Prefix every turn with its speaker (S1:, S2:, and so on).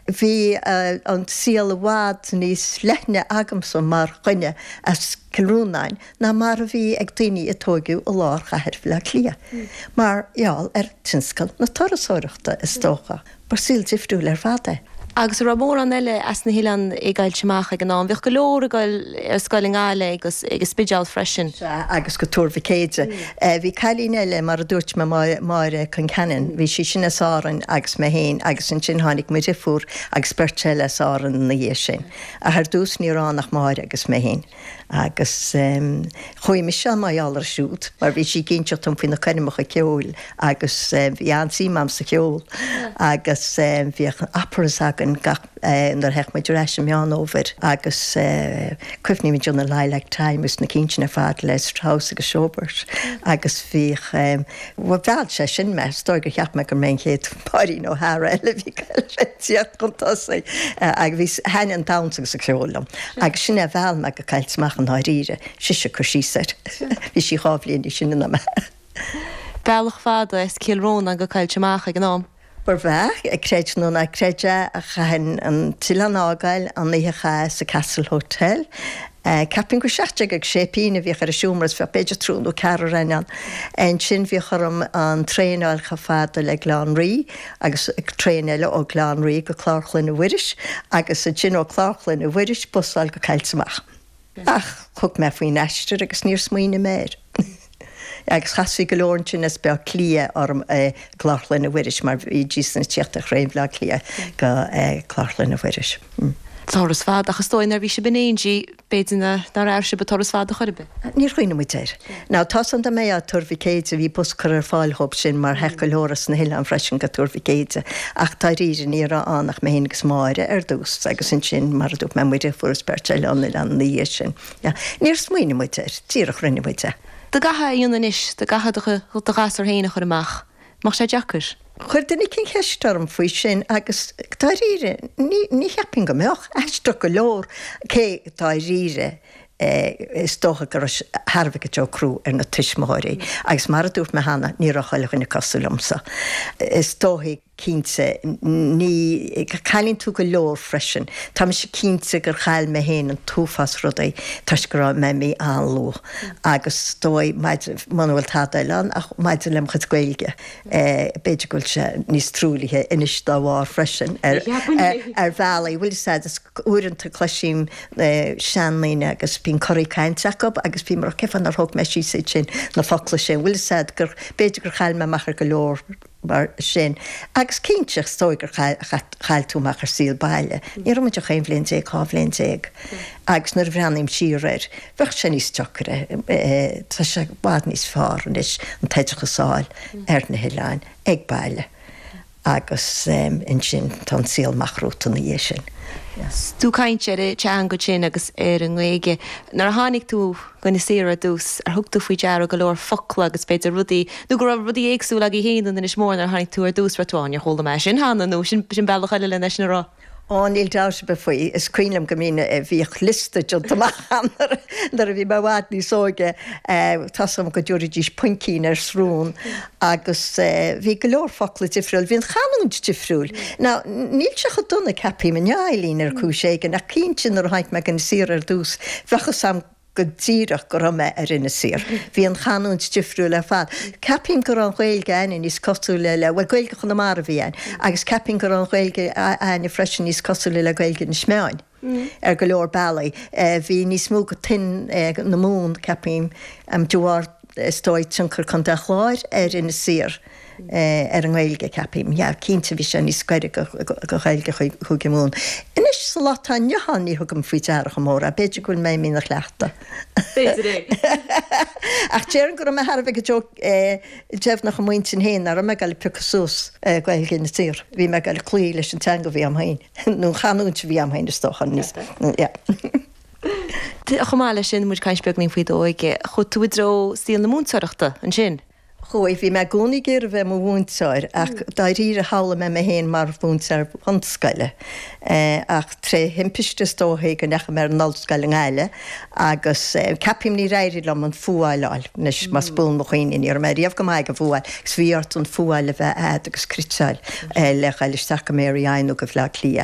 S1: Bhí an saol i bhfad níos leithne agamsa mar dhuine as Cill Rónáin ná mar a bhí ag daoine a tóigeadh i lár chathair Bhaile Átha Cliath, mar gheall ar tionscal na turasóireachta, is dócha. Ba saol difriúil ar fad é.
S2: Agus an raibh mórán eile as na hoileáin i gCoillte Mach ag an am? Bhíodh go leor ag dul ar scoil i nGaillimh agus ag an Spidéal freisin.
S1: Sea, agus go Tuar Mhic Éide. Bhí cailín eile, mar a dúirt mé, Máire Concannon, bhí sí sin as Árainn agus mé féin agus ansin tháinig mo dhriofúr agus beirt eile as Árainn ina dhiaidh sin. Ach ar dtús ní raibh ann ach Máire agus mé féin. Agus chuaigh mise ann mar gheall uirthi siúd, mar bhí sí ag inseacht dom faoi na coirmeacha ceoil agus bhí an-suim a'm sa cheol agus bhíodh operas againn gach, nuair a theadh muid ar ais i Meán Fhómhair agus cuimhním ar na Lilac Time agus na cinn sin ar fad le Strauss agus Schubert agus bhíodh, bhuel mheall sé sin mé, is dóigh gur cheap mé gur mé an chéad Máirín O'Hara eile a bhí ag tíocht chun tosaigh agus bhí, thaitnigh an damhsa agus an ceol liom agus sin é a mheall mé go Coillte Mach i ndáiríre, sise ag cur síos air. Bhí sí 2 bhliain níos sine ná mé.
S2: Bealach fada as Cill Rónáin go Coillte Mach ag an am.
S1: B'fhearr, creid nó ná creid é, chaithfinn an t-oileán a fhágáil an oíche a chaitheamh sa Castle Hotel. Ceapaim gur 17 agus sé pingin a bhíodh ar an seomra is bheadh b'fhéidir triúr nó ceathrar againn ann. Ansin bhíodh orm an traein a fháil chomh fada le Gleann Rí agus traein eile ó Gleann Rí go Clár Chlainne Mhuiris agus ansin ó Clár Chlainne Mhuiris bus a fháil go Coillte Mach. Ach thug mé faoin aistear agus níor smaoinigh mé air. Agus chasfaí go leor ansin as Baile Átha Cliath orm i gClár Chlainne Mhuiris mar bhídís ag tíocht ar thraein Bhaile Átha Cliath go Clár Chlainne Mhuiris.
S2: Turas fada, ach is dóigh nuair a bhí sibh in éindí, b'fhéidir nár airigh sibh an turas fada chor ar bith.
S1: Níor chuimhnigh muid air. Now tá's a'm dá mbeifeá i Tuar Mhic Éide, bhí bus curtha ar fáil dhóibh sin mar theadh go leor as na hoileáin freisin go Tuar Mhic Éide ach dáiríre ní raibh ann ach mé féin agus Máire ar dtús agus ansin mar a dúirt mé mo dheirfiúr is beirt eile ón oileán ina dhiaidh sin. Yeah. Níor smaoinigh muid air, díreach rinne muid é.
S2: Dá gcaithfeá é a dhéanamh anois, dá gcaithfeá do ghasúr féin a chur amach, mbeadh sé deacair?
S1: Chuir duine eicínt ceist orm faoi sin agus dáiríre, ní, ní cheapfainn go mbeadh. Aisteach go leor, cé dáiríre, is dócha go raibh sé thar a bheith go deo crua ar na tuismitheoirí agus mar a dúirt mé cheana, ní raibh chuile dhuine cosúil liomsa. Is dóigh. Cinnte, ní, cailleann tú go leor freisin. Tá mise cinnte gur chaill mé féin an t-uafás rudaí toisc go raibh mé imithe an-luath agus is dóigh maidir, muna bhfuil tada eile ann ach maidir le mo chuid Gaeilge, b'fhéidir go bhfuil sé níos truaillithe anois dá bharr freisin ar, ar bhealaí. Bhfuil fhios a'd, is uaireanta cloisim seandaoine agus bíonn corraí cainte acu agus bím ag rá cén fáth nár thóg mé síos iad sin, na focla sin. Bhfuil fhios a'd gur, b'fhéidir gur chaill mé amach ar go leor. mar sin. Agus cinnte, is dóigh gur chaill tú amach ar saol baile. Ní raibh muid ach 11 bhliain, 12 bhliain. Agus nuair a bhreathnaím siar air, bheadh sé níos deacaire. Tá sé i bhfad níos fearr anois an t-oideachas a fháil ar na hoileáin, ag baile. Agus ansin tá an saol amach romhat ina dhiaidh sin.
S2: Tú ag caint ar an teanga sin agus ar an nGaeilge. Nuair a tháinig tú go Inis Oírr ar dtús, ar thug tú faoi deara go leor focla agus b'fhéidir rudaí, nó go raibh rudaí éagsúla agaibh féin in Inis Mór nuair a tháinig tú ar dtús, raibh tú, á, níor chuala mé sin cheana, nó sin bealach eile lena sin a rá.
S1: Á, níl dabht ar bith faoi. Is cuimhin liom go mbínn, bhíodh liosta déanta amach a'm nuair a bhí mé i bhfad níos óige, tá's a'm go dtabharfaidís puincín ar srón agus bhí go leor focla difriúil. Bhí an chanúint difriúil. Now, níl sé chomh dona, ceapaim, inniu, Eileen, ar chúis éigin, ach cinnte nuair a tháinig mé go Inis Oírr ar dtús, bheadh fhios a'm go díreach go raibh mé ar Inis Oírr. Bhí an chanúint difriúil ar fad. Ceapaim go raibh an Ghaeilge a'inne níos cosúla le, bhuel, Gaeilge Chonamara a bhí a'inn, agus ceapaim go raibh an Ghaeilge a'inne freisin níos cosúla le Gaeilge Inis Meáin ar go leor bealaí. Bhí níos mó go tuin na Mumhan, ceapaim, de bharr, is dóigh, tionchar Contae an Chláir ar Inis Oírr. ar an nGaeilge, ceapaim. Yeah, cinnte bhí sé níos gaire go Ghaeilge Chúige Mumhan. Anois, sa lá atá inniu ann, ní thugaim faoi deara chomh mór é. B'fhéidir go bhfuil mé imithe ina chleachtadh.
S2: B'fhéidir é.
S1: Ach déarfainn go raibh mé thar a bheith go deo deimhneach i m'intinn féin nach raibh mé ag dul ag piocadh suas Gaeilge Inis Oírr. Bhí mé ag dul ag cloí leis an teanga a bhí a'm féin, nó an chanúint a bhí a'm féin, is dócha. Yeah.
S2: Chomh maith leis sin, muid ag caint beagainín faoi d'óige, chuaigh tú i dtreo saol na múinteoireachta ansin.
S1: Chuaigh. Bhí mé i gcónaí ag iarraidh bheith i mo mhúinteoir ach dáiríre shamhlaigh mé mé féin mar mhúinteoir bunscoile. Ach tré thimpiste is dóichí go ndeachaigh mé ar an ollscoil i nGaillimh agus ceapaim níor éirigh liom an fuáil a fháil. Anois más buan mo chuimhne ní raibh mé riamh go maith ag an bhfuáil agus bhí ort an fuáil a bheith a'd agus critseáil le dhul isteach go Mary I nó go Bhleá Cliath.